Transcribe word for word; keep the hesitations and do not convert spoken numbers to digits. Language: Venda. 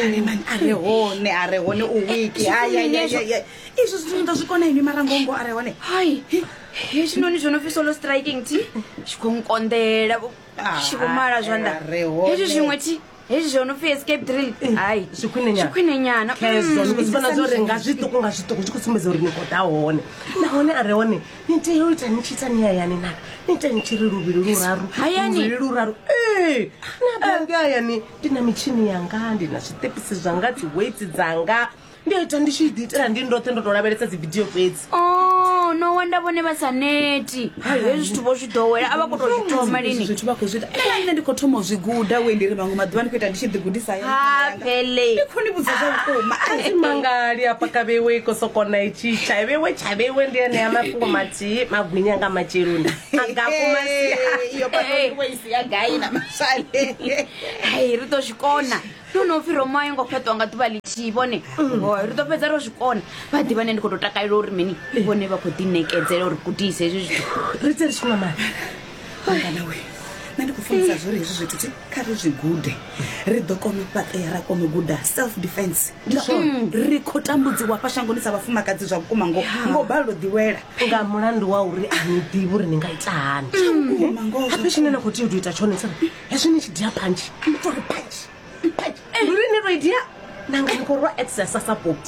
Man, a re hone a re hone u wiki. Ai ai ai ai, ai. Izwo zwithu ni ḓo zwi kona inwi marangongo a re hone. Hai, hezwinoni zwo no pfi solo striking thi zwi khou nkonḓela tshi vho mala zwanḓa. A re hone. Hezwi zwiṅwe thi, hezwi zwo no pfi escape drill, hai, Zwi khwine nyana. Zwi khwine nyana. Khezwo ni khou zwi vhona zwa uri nga zwiṱuku nga zwiṱuku zwi khou sumbedza uri ni khou ḓa hone. Nahone a re hone ni tea u ita ni tshi ita ni hayani na ni ita ni tshi ri luvhili luraru Hayani? Luvhili luraru. Ee, na bange hayani ndi na mitshini yanga, ndi na zwiṱepisi zwanga, dzi weights dzanga, ndi a ita ndi tshi ḓi itela ndi ndoṱhe ndo to lavhelesa dzi video fhedzi. Oh, no wonder vhone vha sa neti. Hai, hezwi zwithu vho zwi ḓowela, a vha khou tou zwi thoma lini. Zwithu vha khou zwi ita. Nṋe ndi khou thoma u zwi guda we ndi ri maṅwe maḓuvha ndi khou ita ndi tshi ḓi gudisa hayani. Ha phele. Ndi khou ni vhudza zwa vhukuma. Thi mangali afha ka vheiwe i khou sokona itshi tshavheiwe tshavheiwe ndi enea mafhungo mathihi magwinya nga matsheloni agakumasia. Iyo pano ya gai na masale. Hai, ri ḓo zwi kona. No no pfi Roma a yo ngo fhaṱwa nga ḓuvha ḽithihi vhone. Oh, ri ḓo fhedza ro zwi kona. Vha ḓivha nṋe ndi khou tou takalela uri mini vhone vha khou ḓiṋekedzela uri gudise hezwi zwithu. Ri tse ri tshi nwa maḓi. Mangana we, nṋe ndi khou funisa zwo uri hezwi zwithu thi kha ri zwi gude, ri ḓo kona u fhaṱea, ra kona u guda self defense. Ri khou tambudziwa fha shangoni sa vhafumakadzi zwa vhukuma ngo ngo balelwa u ḓilwela. Nga mulandu wa uri a ni ḓivhi uri ni nga ita hani. Vhukuma ngoho. Habe tshine na khou tea u tou ita tshone tsari hezwi ni tshi dia phantshi ni tori pantshi pantshi, ndi uri ni to i dia nanga ni khou rwa exercise support.